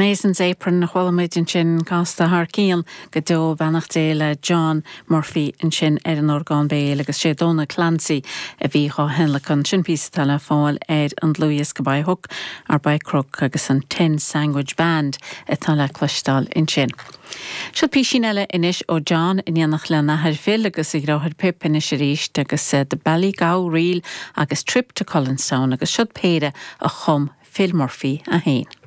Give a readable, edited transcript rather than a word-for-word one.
Mason's Apron a chuala muid ansin, casta thar cionn go deo, beannacht Dé le John Murphy ansin ar an orgán béil agus sé Donal Clancy a bhí dhá thionlacan. Sin píosa atá le fáil ar an dlúthdhiosca By Hook or By Crook agus an Ten Sandwich Band atá le cloisteáil ansin. Seo písín eile anois ó John in éineacht lena athair Phil agus a dheartháir Pip anois arís agus The Ballygow Reel agus Trip to Cullenstown agus siod péire a chum Phil Murphy é féin.